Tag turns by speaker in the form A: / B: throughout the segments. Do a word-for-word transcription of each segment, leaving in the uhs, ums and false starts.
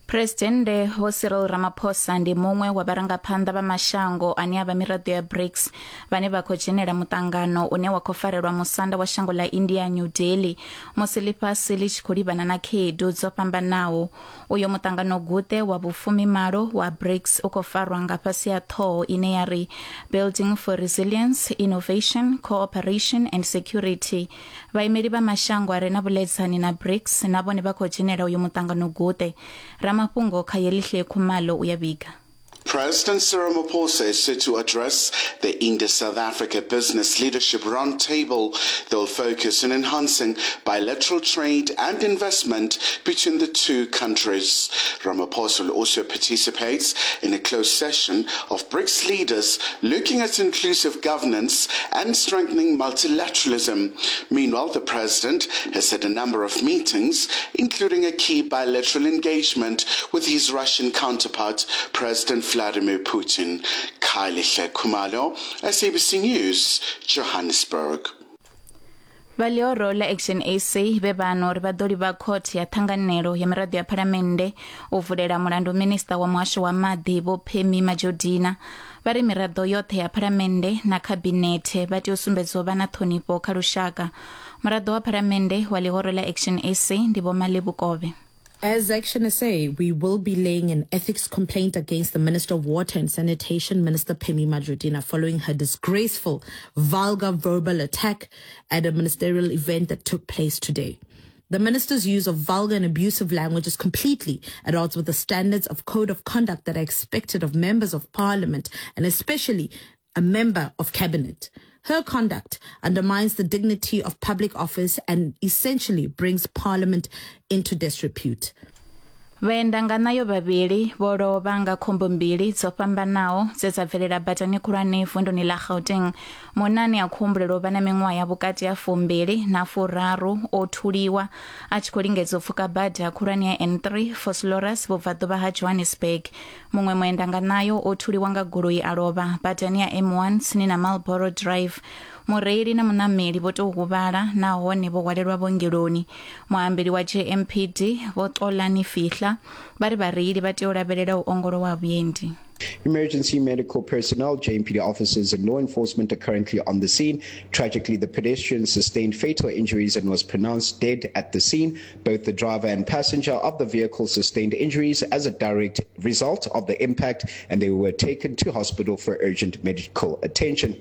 A: Presidennde Vho Cyril Ramaphosa ndi muṅwe wa vharangaphanḓa vha mashango ane a vha miraḓo ya BRICS vhane vha khou dzhenela muṱangano une wa khou farelwa musanda wa shango ḽa India New Delhi musi ḽifhasi ḽi tshi khou livhana na khaedu dzo fhambanaho. Uyo muṱangano guṱe wa vhufumimalo wa BRICS u khou farwa nga fhasi ha ṱhoho ine ya ri Building for Resilience, Innovation, Cooperation and Security. Vhaimeli vha mashango a re na vhuḽedzani na BRICS na vhone vha khou dzhenela uyo muṱangano guṱe. Ramafhungo Khayelihle Khumalo u ya vhiga.
B: President Cyril Ramaphosa is set to address the India-South Africa Business Leadership Roundtable that will focus on enhancing bilateral trade and investment between the two countries. Ramaphosa will also participate in a closed session of BRICS leaders looking at inclusive governance and strengthening multilateralism. Meanwhile, the president has had a number of meetings, including a key bilateral engagement with his Russian counterpart, President Vladimir Putin. Khayelihle Khumalo, S A B C News, Johannesburg.
A: Vha ḽihoro ḽa Action S A vhe vhano uri vha ḓo livha khothe ya ṱhanganelo ya miraḓo ya phalamennde u vulela mulandu minista wa muhasho wa maḓi Vho Pemmy Majodina. Vha ri miraḓo yoṱhe ya phalamennde na khabinethe vha tea u sumbedza u vha na ṱhonifho kha lushaka. Muraḓo wa phalamennde wa ḽihoro ḽa Action S A ndi Vho Malebo Kove.
C: As Action S A, we will be laying an ethics complaint against the Minister of Water and Sanitation, Minister Pemmy Majodina, following her disgraceful, vulgar verbal attack at a ministerial event that took place today. The minister's use of vulgar and abusive language is completely at odds with the standards of code of conduct that are expected of members of parliament and especially a member of cabinet. Her conduct undermines the dignity of public office and essentially brings parliament into disrepute.
A: Vhaendanganayo vhavhili vho lovha nga khombo mbili dzo fhambanaho dze dza bvelela badani khulwane vunduni ḽa Gauteng. Munna ane a khou humbulelwa u vha na miṅwaha ya vhukati ha fumbili na furaru o thuliwa a tshi khou lingedza u pfuka bada khulwane ya N three Vosloorus vhubvaḓuvha ha Johannesburg. Muṅwe muendanganayo o thuliwa nga goloi a lovha badani ya M one tsini na Marlborough Drive. Mureili na munameli vho tou huvhala nahone vho hwalelwa vhuongeloni. Muambeli wa J M P D Vho Xolani Fihla vha ri vhareili vha tea u lavhelela u ongolowa ha vhuendi.
D: Emergency medical personnel, J M P D officers, and law enforcement are currently on the scene. Tragically, the pedestrian sustained fatal injuries and was pronounced dead at the scene. Both the driver and passenger of the vehicle sustained injuries as a direct result of the impact, and they were taken to hospital for urgent medical attention.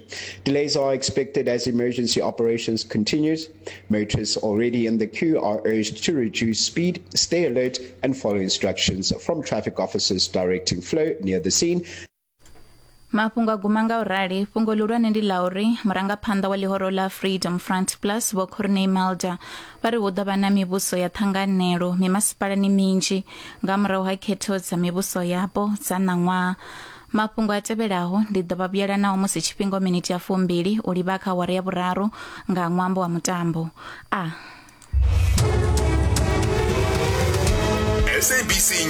D: Delays are expected as emergency operations continues. Motorists already in the queue are urged to reduce speed, stay alert, and follow instructions from traffic officers directing flow near the scene.
A: Mafhungo a guma nga u rali. Fhungo ḽihulwane ndi ḽa uri murangaphanḓa wa ḽihoro ḽa Freedom Front Plus Vho Corne Mulder vha ri hu ḓo vha na mivhuso ya ṱhanganelo mimasipalani minzhi nga murahu ha khetho dza mivhuso yapo dza ṋaṅwaha. Mafhungo a tevhelaho ndi ḓo vha vhuyela nao musi tshifhinga miniti ya fumbili u livha kha awara ya vhuraru nga ṅwambo wa mutambo a
E: S A B C.